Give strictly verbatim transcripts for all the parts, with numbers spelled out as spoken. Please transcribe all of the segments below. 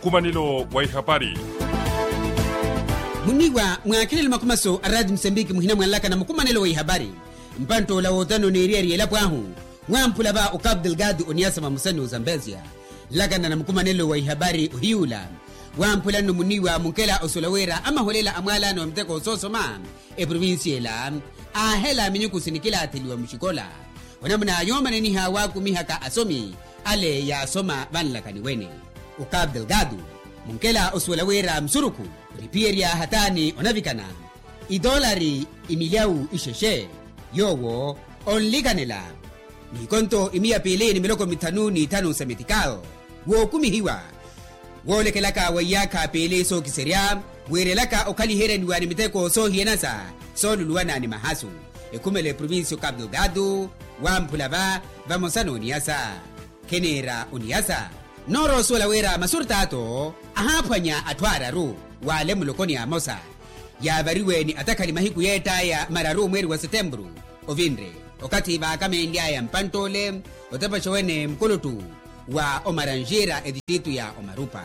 Mukhumanelo wa ihapari. Muniiwa mwaakhelelo makhumaso a raati musambiki muhina mwanlakana mukhumanelo wa ihapari. Mpantt'ola wootano n'eriyari y'elapo ahu wamphula va okapu delgado oniyasa vamosa ni ozambezia. Nlakana na mukhumanelo wa ihapari ohiyuula wamphula nno muniiwa munkela osuwela wira amaholela a mwaalano wa miteko soosoma eprovincia ela aahela minyuku sinikilaatheliwa muxikola. Onamuna yoomananiha waakumihaka asomi ale yaasoma vanlakani wene. Okapu delgado munkela osuwela wira musurukhu oniphiyerya hataani onavikana itoolari imilyawu ixexe yoowo onlikanela n'ikonto imiya piili ni miloko mithanu n'ithanu sa metikal wookumihiwa woolekelaka wa iyaakha piili sookiserya wiirelaka okhaliheryaniwa ni miteko soohiyanasa sooluluwana ni mahasu. Ekhumela eprovincia okapu delgado wamphula va vamosa n'oniyasa. Khiniira oniyasa noorosuwela wira masurtaato ahaaphwanya atthu aararu w'ale mulokoni amosa yaavariwe ni atakhali mahiku yeett'aya mararu mweeri wa setempuru ovinre okathi vaakamenly'aya mpantt'ole otepexa wene mukuluttu wa omaranjira etistritu ya omarupa.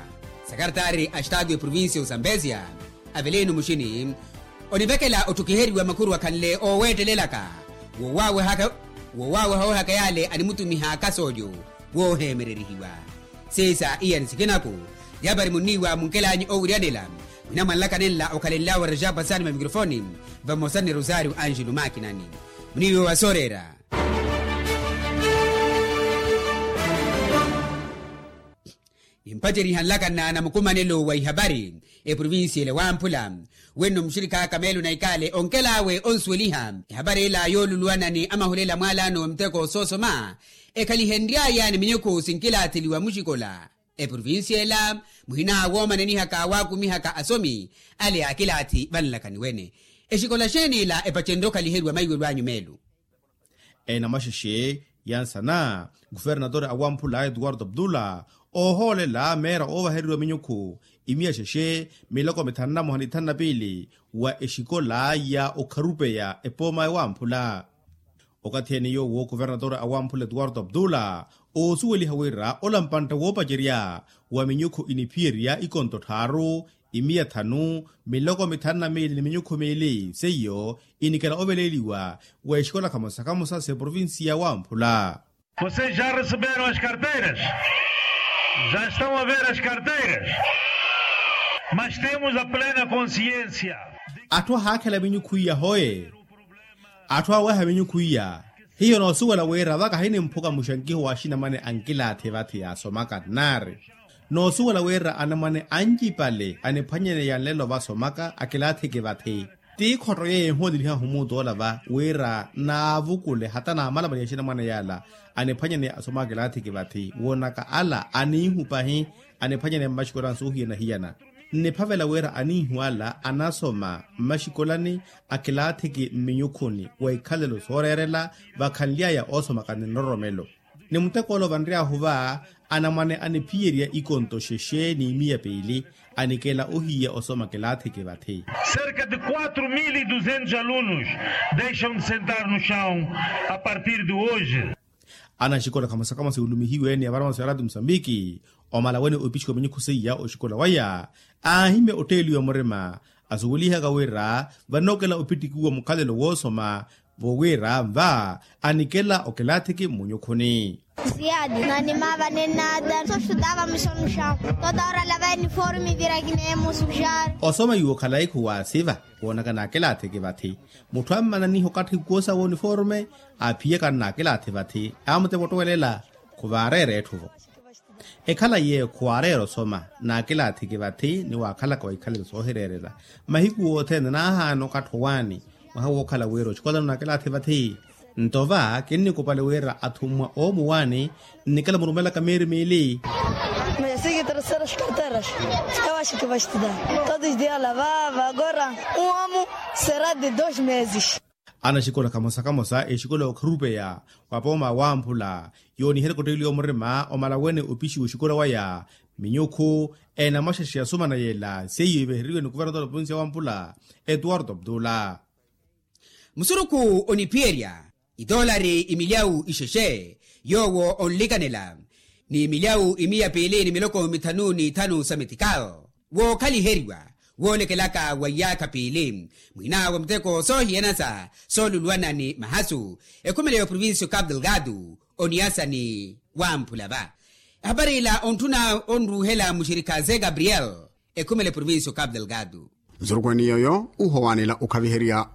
Sakaratari a estatu eprovincia osambezia avelino muxini onivekela otthukiheriwa makhuru akhanle ooweettelelaka woowaweha woowaweha ohaka yale animutumiha kasoolyo wooheemererihiwa. Siisa iyani sikinaku yapari muniiwa munkelanyi owiryanela mwina mwanlakanenla okhalenlyawe rajapa sani mamicrofoni vamosa ni rosario angelo makinani muniiwa wa sooreera. Nimpaceriha nlakana na mukumanelo wa ihapari eprovincia ele wamphula wenno muxirikaka meelo na ikale onkel'awe onsuweliha ehapari ela yooluluwana ni amahulela mwaalaano wa miteko soosoma ekhalihenry'aya ni minyukhu sinkilaatheliwa muxikola. Eprovincia ela muhina woomananihaka waakumihaka asomi ale akilaathi vanlakani wene. Exikola xeeni ela epacenrye okhaliheriwa maiwelo anyu meelo? Enamwaxexe yansana guvernatori awamphula etuwarto abdula oohoolela meera oovaheriwa minyukhu imiya xexe miloko mithanu na moha ni thanu na piili wa exikola ya okharupeya epooma ewamphula. Okathi ene yoowo kuvernatori awamphula etuwarto abdula oosuweliha wira ola mpantta woopacerya wa minyukhu iniphiyerya ikonto tthaaru imiya thanu miloko mithanu na miili ni minyukhu miili seiyo inikela oveleeliwa wa exikola khamosa khamosa s'eprovincia wamphula. Vocês já receberam as carteiras? Já estão a ver as carteiras? Mas temos a plena consciência. Atthu ahaakhela minyukhu iya hoye. Atthu aweha minyukhu iya hiyo noosuwela wira vaka hinimphuka muxankiho wa axinamwane ankilaathi vathi yaasomaka nnaari. Noosuwela wira anamwane ancipale aniphwanyaneya nlelo vasomaka akilaathiki vathi. Ti khotto yeeyo ehuweleliha humutoola va wira naavukule hata naamalamale ya axinamwane yaala aniphwanyaneya asomaka akilaathiki vathi woonaka ala aniihu pahi aniphwanyaneya mmaxikolani soohiyana-hiyana. Nniphavela wira aniihu ala anasoma mmaxikolani akilaathiki mminyukhuni wa ikhalelo sooreerela vakhanly'aya oosomaka ni nroromelo. Ni muteko ole ovanry'ahu va anamwane aniphiyerya ikonto xexe n'imiya piili anikela ohiya osoma kilaathiki vathi. Cerca de quatro mil e duzentos alunos deixam de sentar no chão a partir de hoje. Anaxikola khamosa khamosa yulumihiwe ni avaramaso ya ratu musambiki omala wene opixiwa minyukhu seiya oxikola waya aahimya otteeliwa murima asuwelihaka wira vanookela opittikiwa mukhalelo woosoma. Vowira nva anikela okilaathiki mmunyukhuni. Ziyadi na nimaavane nada sosudava musomuxamu totaora lava iniformi vira kineemusuxari. Osoma yuwo khalayi khuwaasiva woonaka naakilaathiki vathi. Mutthu ammananiha okathi koosa woniforme aaphiyaka nnaakilaathi vathi aamuteva ottowelela. Khuvaareera etthu-vo. Ekhala yeeyo khuwaareera osoma naakilaathiki vathi ni waakhalaka wa ikhalelo soohireerela mahiku othene naahaana okathi owaani. Mwaha wookhala wira oxikolano naakilaathi vathi nto va kinnikupale wira athummwa oomuwaani nnikela murumelaka meeri miili. Mesi ki terseras karteras ewaxiki vaxitida todos diala va vagora. Uamu sera de dos meses. Anaxikola khamosa khamosa exikola okharupeya wa pooma wamphula yooniherya kotteeliwa murima omala wene opixiwa oxikola waya minyukhu enamwaxaxi asumana yela seiyo iveheriwe ni kuvernatori wa provincia wamphula etuwarto abdula. Musurukhu oniphiyerya itoolari imilyawu ixexe yoowo onlikanela ni milyawu imiya piili ni miloko mithanu n'ithanu sa metikal, wookhaliheriwa woolekelaka wa iyaakha piili. Mwiina wa muteko soohiyanasa sooluluwana ni mahasu ekhumela ya oprovincia o capu delgado, oniyasa ni wamphula va. Ehapari ila ontthuna onruuhela muxirikha ze gabriel, ekhumela eprovincia o capu delgado. Nsurukwaani yooyo uhowanela okhaviherya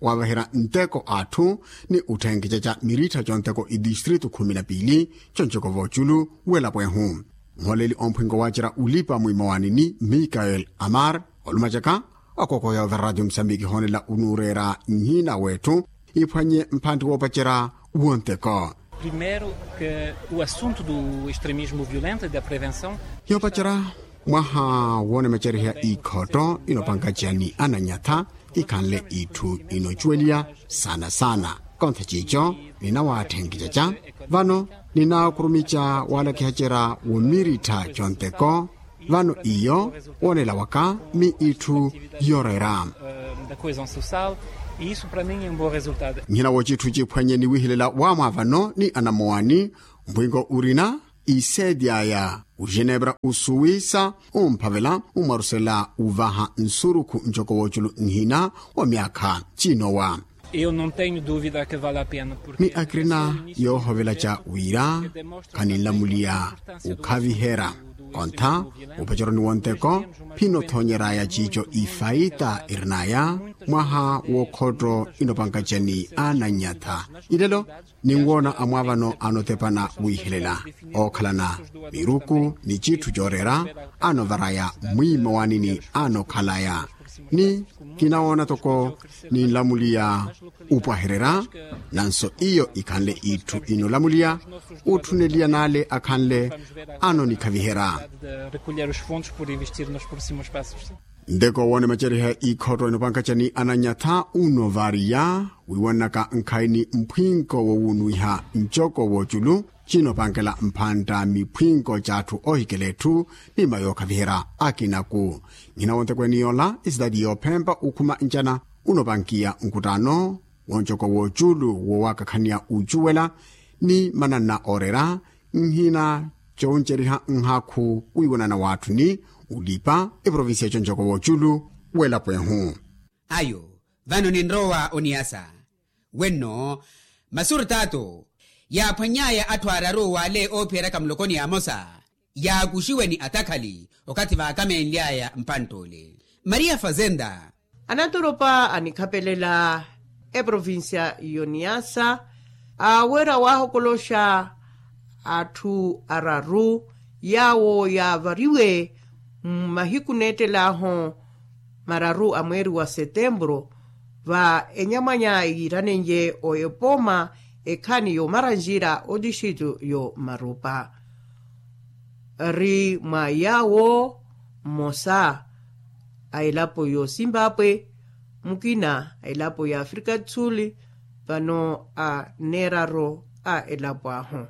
wavaherya nteko a atthu ni otthenkica ca mirittha conteko itistrito khumi na piili, conjoko voculu welapo ehu. Nholeli omphwinko wacerya ulipa mwimowani ni mikael amar olumacaka. Akokoya ove radio msambiki hoonela unureera nhina wetthu iphwanye mphantti woopacerya wonteko. Primeiro, que o assunto do extremismo violento e da prevenção. Yoopacerya mwaha woonemacariha ikhotto inopankaca ni ananyatha ikhanle itthu inocuweliya saana saana. Kontha ciico ninawatthenkicaca vano, ninakhurumica waalakihacerya womirittha conteko. Vano iyo woonela waka mi itthu yooreera. Nhina wooci itthu ciphwanye ni wihilela waamwaavano ni anamowani. Mpwinko urina iseedyaya ujenevra usuwisa umphavela umwarusela uvaha nsurukhu ncoko wooculu nhina wa myaakha. Cinowa. Ni akirina yoohovelaca wira khaninlamuliya ukhaviherya. Kontha upaceroni wonteko phinothonyeraya ciico ifaita irinaya mwaha wookhotto inopankacani ananyatha. Ilelo ninwoona amwaavano anotepana wiihelela ookhalana miruku ni citthu cooreera anovaraya mwiimawanini anokhalaya. Ni kinawoona toko ninlamuliya upwahererya nanso iyo ikhanle itthu inolamuliya utthuneliya naale akhanle anonikhaviherya. Nteko woone macariha ikhotto inopankacani ananyatha unovariya wiiwanaka nkhayi ni mphwinko wowunuwiha ncoko wooculu cinopankela mphantta miphwinko c'atthu ohikela etthu ni mayookhaviherya akinaku. Nhina wontekweni yoola esitaati yoophempa ukhuma ncana unopankiya nkuttaano woncoko wooculu woowakakhaniya ucuwela ni mananna ooreera nhina cowunceriha nhakhu wiiwanana w'atthu ni ulipa eprovincia concoko wooculu w'elapo ehu. Ayo vano ninrowa oniyasa wenno masurtato yaaphwany'aya atthu araru w'ale oophiyeryaka mulokoni ya amosa yaakuxiwe ni atakhali okathi vaakamenly'aya mpantt'ole maria fazenda. Anaturupa anikhapelela eprovincia y'oniyasa awerya waahokoloxa atthu araru yaawo yaavariwe mmahiku neettel'ahu mararu a mweeri wa setempuru va enyamwanya yiiranenye o epooma ekhaani y'omaranjira otixitu y'omarupa. Ri mwa yaawo mmosa a elapo y'osimbapwe mukina a elapo y'afrika du sul vano a neeraro a elapo ahu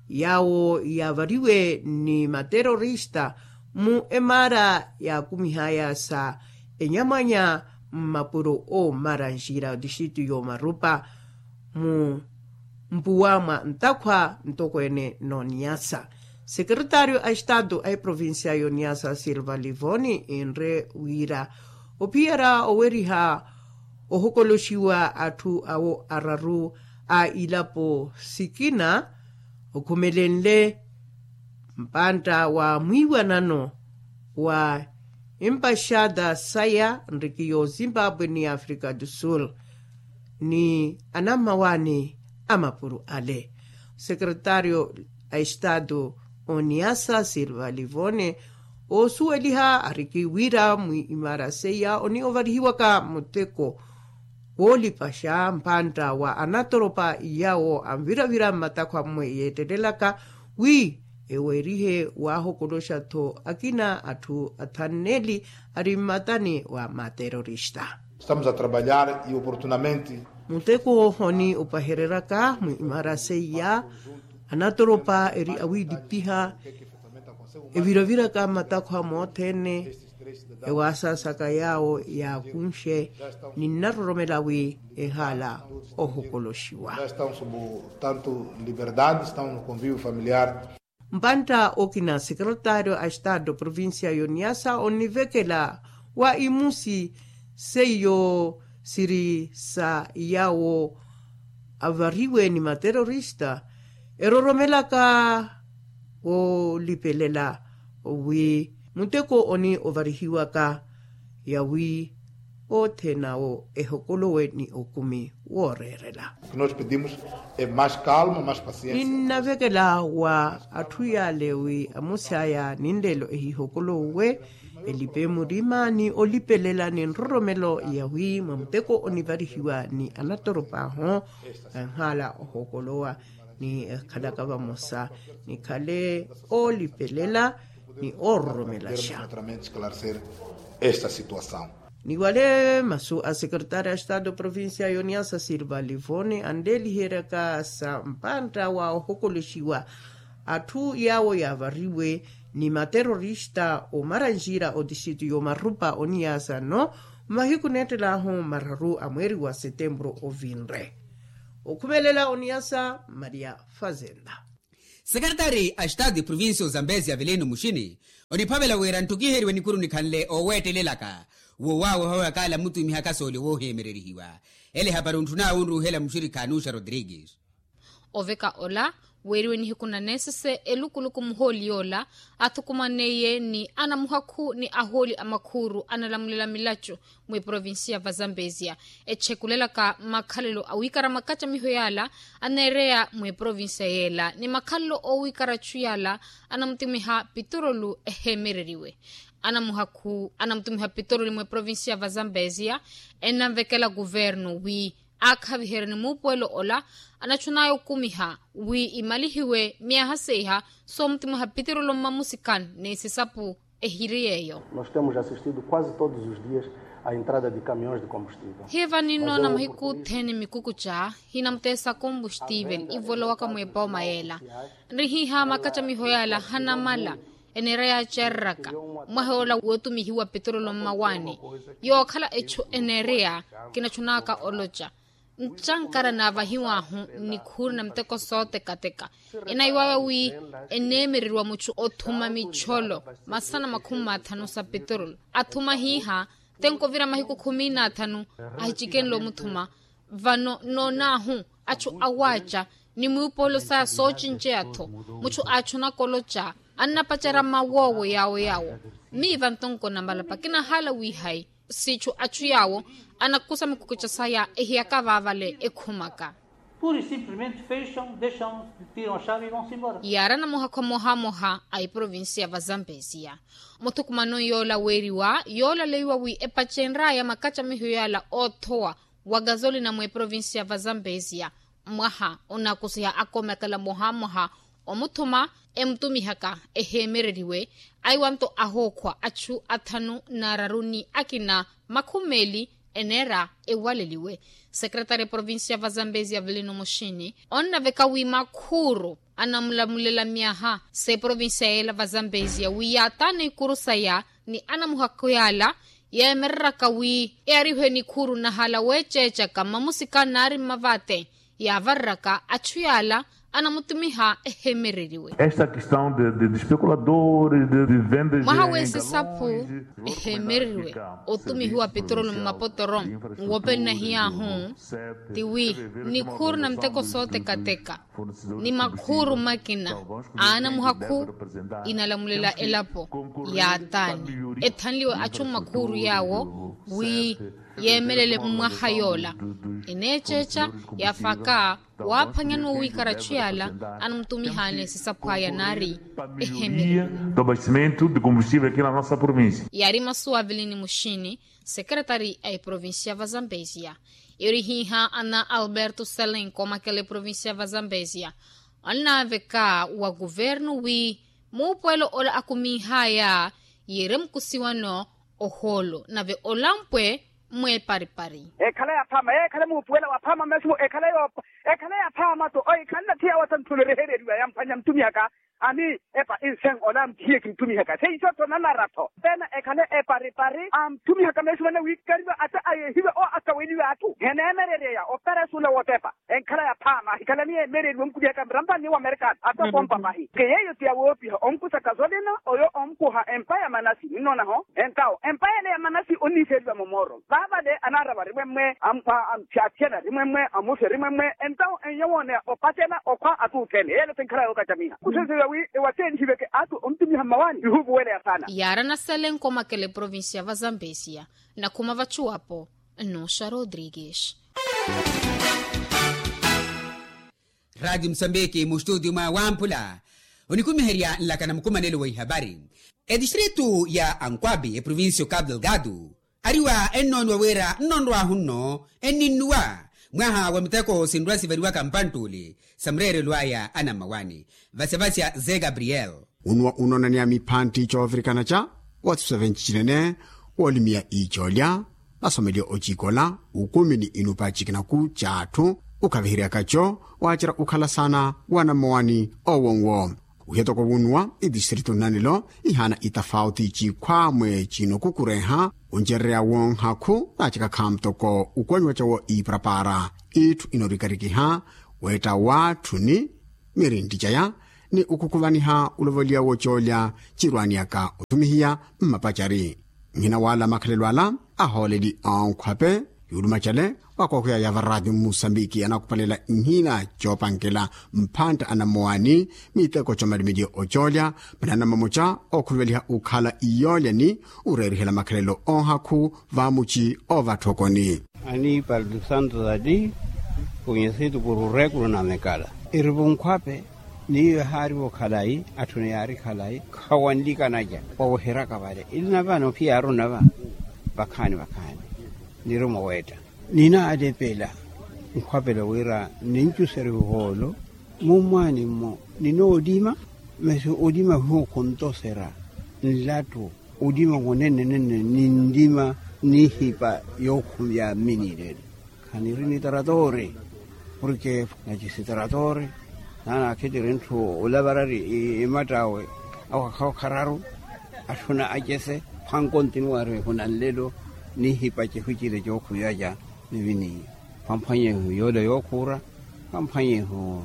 yaawo yaavariwe ni materorista mu emaara yaakumih'aya sa enyamwanya mmapuro oomaranjira otixitu y'omarupa mu mpuwa mwa ntakhwa ntokweene n'oniyasa. Sekeretario a estatu a eprovincia y'oniyasa silva livoni enre wira ophiyerya oweriha ohokoloxiwa atthu awo araru a ilapo sikina okhumelenle mpantta wa mwiiwanano wa empaxada saya nriki y'ozimbabwe ni afrika du sul ni anammawaani a mapuru ale. Sekeretario a estatu oniyasa silva livone oosuweliha ariki wira mwiimara seiya oniovarihiwaka muteko woolipaxa mpantta wa anatoropa yawo anviravira mmatakho ammwe yeettelelaka wi eweerihe waahokoloxa-tho akina atthu athanneeli ari mmatani wa materorista. Estamos a trabalhar e oportunamente. Muteko woohoni opahereryaka mwiimara seiya anatoropa eri awiilipiha eviraviraka mmatakho amothene ewaasaasaka yaawo yaakunxe ninnaroromela wi ehaala ohokoloxiwa. Tanto liberdade estamos no convivio familiar. Mpantta okina sekretario a estado provincia y'oniyasa onivekela wa imusi seiyo siri sa yaawo avariwe ni materorista eroromelaka woolipelela wi muteko oni ovarihiwaka yawi othene awo ehokolowe ni okumi wooreerela. Ninnavekela wa atthu yaale wi amusi aya ninleelo ehihokolowuwe elipe murima ni olipelela ni nroromelo yawi mwa muteko onivarihiwa ni anatoropa ahu enhaala ohokolowa ni ekhalaka vamosa nikhale oolipelela ni oororomelaxa. Ni wale masu a sekretaari a estado provincia y'oniyasa sirvalivoni anleeliheryaka sa mpantta wa ohokolexiwa atthu yaawo yaavariwe ni materorista omaranjira otixitu y'omarupa oniyasa nno mmahiku neettelaahu mararu a mweeri wa setempuru ovinre. Okhumelela oniyasa maria fazenda. Sekretaari a estado provincia ozambezi avelino muxini oniphavela wira nttokiheriwe nikuru nikhanle ooweettelelaka woowaweha oyo akaala muttumihaka soole wooheemererihiwa. Ele hapari ontthunaawe onruuhela muxirikha anuxa rodrigues. Oveka ola weeriwe nihiku na nesese elukuluku muhooli yoola athukumaneiye ni anamuhakhu ni ahooli a makhuuru analamulela milacu mweprovincia va zambezia etchekulelaka makhalelo awiikara makacamiho yaala aneereya mweprovincia yeela ni makhalelo oowiikara achu yaala anamutumiha pitorolu eheemereriwe. Anamuhakhu anamutumiha pitorolu mweprovincia va zambezia ennanvekela kuvernu wi aakhaviherya ni muupuwelo ola anachunaya okumiha wi imalihiwe myaha seiha soomutumiha pitorolu mmamusikani ni sisapu ehiri yeeyo. Nós temos assistido quase todos os dias a entrada de caminhões de combustível. Hiiva ninnoona mahiku othene mikukuca hinamuteesa kombustivel ivolowaka mwepooma yeela nrihiiha makacamiho yaala hanamala eneera yaacereraka mwaha yoola wootumihiwa pitorolo mmawaani. Yookhala echu eneereya kinachunaka oloca ncankara naavahiw'ahu nikhuuru na miteko sootekateka enaiwawe wi eneemereriwa muchu othuma micholo masana makhumi mathanu sa pitorolo athuma hiiha tenko ovira mahiku khumi n'athanu ahichikenle omuthuma. Vano noon'ahu achu awaaca ni mwiipoolo saya soocinceya-tho muchu aachunaka oloca annapacerya mawoowo yaawo yaawo miiva ntonko na malapa kinahaala wiihayi siichu achu yaawo anakusa mikukuca saya ehiyaka vaavale ekhumaka. Pura e simplesmente fecham dexam tiram a chave e vão-se embora. Yaari anamuhakhu amohamoha a eprovincia va zambezia muthukumano yoola weeriwa yoolaleiwa wi epacenraya makacamiho yaala oothowa wa gazolina mweprovincia va zambezia mwaha onakusiha akomekela mwaha mwaha omuthuma emutumihaka eheemereriwe aiwanto ahookhwa achu athanu n'araru ni akina makhumi meeli eneera ewaleliwe. Secretary provincia va zambezia velino muxini onnaveka wi makhuuru anamulamulela myaha s'eprovincia yeela va zambezia wi yaataana ikuru saya ni anamuhakhu yaala yeemereraka wi earihiwe nikhuuru nahala weeceecaka mmamusika naari mmavaate yaavareraka achu yaala anamutumiha eheemereriwe. Esta questão de, de, de especuladores de, de vendas mwaha w'esisaphu eheemereriwe otumihiwa petrolo mmapotoro nwope nnahiy'ahu ti wi nikhuuru na miteko sootekateka ni makhuuru makina aana muhakhu inalamulela elapo yaataani ethanliwe achu mmakhuuru yaawo wi yeemelele mmwaha yoola eneeceeca yaafaka waaphwanyani owiikara achu yaala anamutumihaani esisaphu aya naari eheemereriwe. Do abastecimento de combustível aqui na nossa província. Yaari masu avilini muxini secretary a eprovincia va zambezia. Irihiiha ana alberto selenko makela eprovincia va zambezia onnaaveka wa kuvernu wi muupuwelo ola akumiihaya yiire mukusiwano ohoolo nave olampwe mweeparipari. Ekhala yaphaama yeekhale muupuwelo waphaama mesimu ekhale yaphaama to oikhanle athiya watthanthuna erehereriwa yamphwanya mtumiyaka. Ani epa insen ola ampihiye kinttumihaka seiso tho nanara-tho. Pena ekhale eparipari amtthumihaka meesimana wiikariwa ata ayehiwa owo akaweliwe atthu heneemerereya operesuula wotepa. Enkhala ya phaama ahikhalani yeemereriwe omukutihaka mirampani wa amerikani ata okompa pahi ke yeeyo ti yawoopiha onkusaka zolina oyo omkuha empa ya manasi ninnoona-ho. Entawo empa yale ya manasi onniiseriwa momoro vaavale anaara varimwemmwe. Amphyaathyana rimwemmwe amusi rimwemmwe entawo enyo wooneya opatela okhwa atuuthene yeelo ti nkhala yookacamiha kuseseya wi ewateeni hiveke athu onttumiha mmawaani ihuupuweleya saana. Yaara naselenko makele provincia va zambezia nakhuma vachuwapo. Nnuxa rodrigues. Radi musambiki mustutio mwa wamphula onikumiherya nlaka na mukumanelo wa ihapari. Etistritu ya ankwabi eprovincia o cabo delgado ariwa ennooniwa wira nnonrwahu nno enninnuwa mwaha wa miteko sinrwa sivariwaka mpanttuli sa mureerelo aya anammawaani. Vasevasya ze gabriel. Unuwa unoonaniya miphantti coovirikana ca watiso venci cinene woolimiya iicoolya nasomeliye ocikola ukumi ni inupa cikinaku c'atthu ukhaviheryaka co waacerya ukhala saana wa nammowani owo nwo. Uhiyatoko wunuwa itistritu nnanelo ihaana itafauti cikhwamwe cinokukureha oncerereya wonhakhu naacaka khaamutoko ukonyiwa cawo iparapara itthu inoorikarikiha weetta watthu ni mirintti caya ni ukhukhuvaniha ulovoliya wocoolya cirwaaniyaka othumihiya mmapacari. Nhina wala makhalelo ala ahooleli onkhwape yuuluma cale wakookhuya ya varati mmusambiki anakhupalela nhina coopankela mphantta anammowaani miteko coomalimeliye ocoolya manaana mamoca ookhuluveliha ukhala iyoolya ni ureerihela makhalelo onhakhu vamuci ovatthokoni. Aniipale tusantu tati kunyesitu puru rekulu na mekala irivo nkhwape. Niiyo ehaarivo khalayi atthuni yaari khalayi khawanlikanaca waweheryaka vale ili na vano phiyaaru na va vakhaani vakhaani. Nirumo weetta ninaalepela nkhwapela wira nincuserya ohoolo mummwaani-mo ninoolima masi olima hiyo khuntoserya nlattu. Olima wonene nene ninlima nihipa yookhumya mminilelo khaniri ni taratoori porke nachisi taratoori naana akhitiri ntthu olavarari imatt'awe awo akhawo khararu atthuna acese. Phwankontinuwari ehuna nlelo nihipa cehu cile cookhumya ca miviniyo phwamphwanyehu yoola yookhuura phwamphwanyehu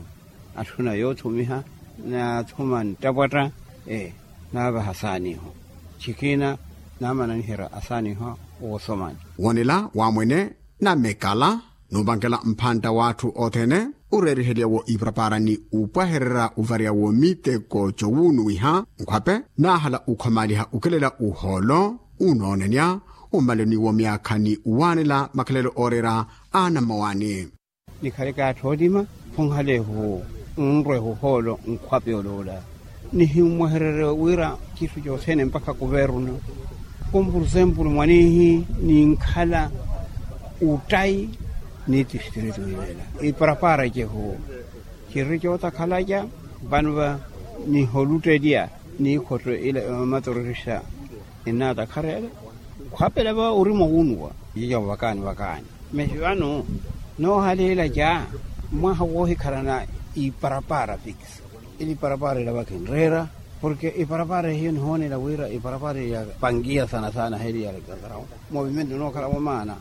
atthuna yoothumiha naathuma nttapwatta. Ee naavaha asaaniho cikina naamana niherya asaaniho woosomani. Woonela waamwene na mekala nuupankela mphantta w'atthu othene ureeriheliya wo iparapara ni upwahererya uvarya wo miteko cowuunuwiha nkhwape naahala ukhomaaliha ukelela uhoolo unoonenya ummaloni wo myaakha ni uwaanela makhalelo ooreera a nammawaani. Nikhaleke atthu oolima khunhalehu nrwehu ohoolo nkhwape oloola nihimmwehererye wira citthu cothene mpakha kuvernu. Kum pursempulu mwaniihi ninkhala uttayi ni tistritu ilela iparapara cehu ciriri cootakhalaca vano va niholuttelya niikhotto ila matororista. Innaatakhara yale khwapela va orima wuunuwa cica vakaani vakaani masi vano noohaleela ca mwaha woohikhalana iparapara fix. Ili iparapara ila va kinreera porke iparapara hiyo nihoonela wira iparapara ya pangiya sana sana heli ya alekazarawo movimento nookhala vomaana.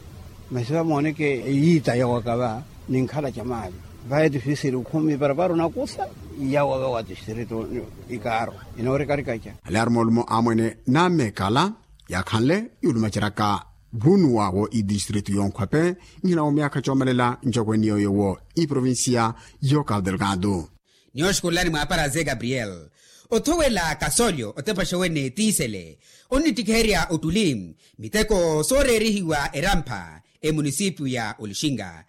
Masi vamooneke eyiita yawaka va ninkhala ca maali va etifisiri ukhumi parapara onakusa yawa va wa tistritu ikaaro inoorikarikaca. Alaari moolumo amwene namekala yakhanle yuulumaceryaka vunuwa wo itistritu yonkhwape nhina wo myaakha coomalela ncokweni yooyo wo iprovincia yo cabo delgado. Nioxukululani mwaapara ze gabriel othowela kasolyo otepaxa wene tiisele onnittikiherya ottuli miteko sooreerihiwa erampha emunisipiyu ya olixinga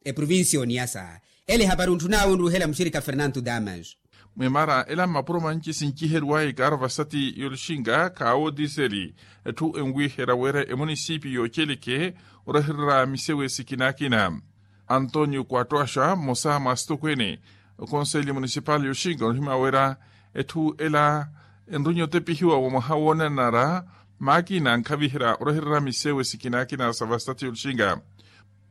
eprovincia oniyasa. Ele ehapari ontthun'awe onruhela muxirikha fernanto damas. Mwemara ela mmapuro manci sinciheriwaya ikaaro vasati yolixinga khaawo otiseli etthu enwiherya wira emunisipiyu yoceleke orahererya misewe sikina akina. Antonio kuattoaxa mmosa mwa asitokwene okonseli munisipali yoxinga onihimya wira etthu ela enrunya otepihiwa wa mwaha woonanara maakina ankhaviherya orahererya misewe sikina akina sa vasitati yoluxinga.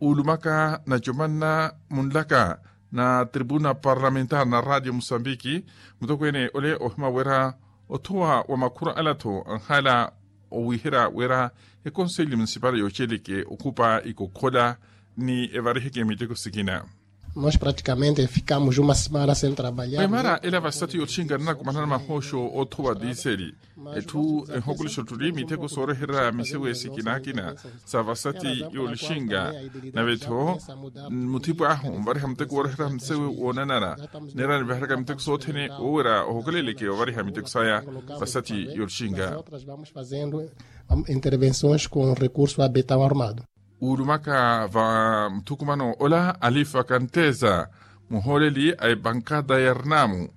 Uulumaka nacomanna munlaka na tribuna parlamentar na radio musambiki, mutokweene ole ohima wira othowa wa makhura ala-tho anhala owiherya wira ekonseli munisipali yooceleke okhupa ikokhola ni evariheke miteko sikina. Nos praticamente ficamos uma semana sem trabalhar. Emara ela vasati yotxinga nanakumanana mahooxo othowa diseli. Etthu ehokulixa ottuli miteko sooreherya misewe sikina akina sa vasati yolixinga. Nave-tho muthipo ahu nvariha muteko wooreherya misewe woonanara. Neera nivaheraka miteko sothene woowira ohokeleleke ovariha miteko saya vasati yolixinga. Intervenções com recurso abetão armado. Uulumaka va muthukumano ola alifa kanteza muhooleli a epankada ya rinamu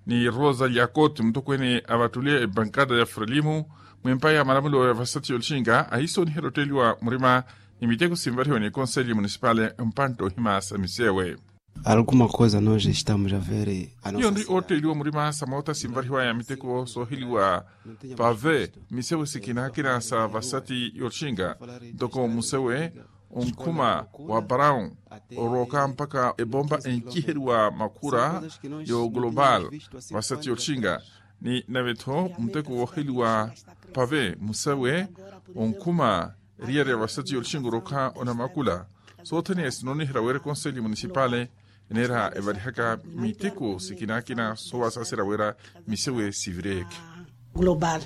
ni rosa liakoti mutokweene avattuliye epankada ya frelimu mwempa ya malamulo ya vasati yolixinga ahisooniherya otteliwa murima ni miteko sinvarihiwa ni ekonseli munisipali mpantta ohima sa misewe. Alguma coisa nós estamos a ver. Iyo nri ootteeliwa murima sa moota sinvarihiwaya miteko sooheliwa pave misewe sikina akina sa vasati yotxinga ntoko musewe onkhuma wa brown orooka mpakha epompa enciheriwa makhura yo global vasati yotxinga ni nave-tho muteko wooheliwa pave musewe onkhuma eriyari ya vasati yotxinga orooka onamakula. Sothene esinooniherya wira ekonseli munisipali eneera evarihaka miteko sikina akina soowasaserya wira misewe sivireke. Global.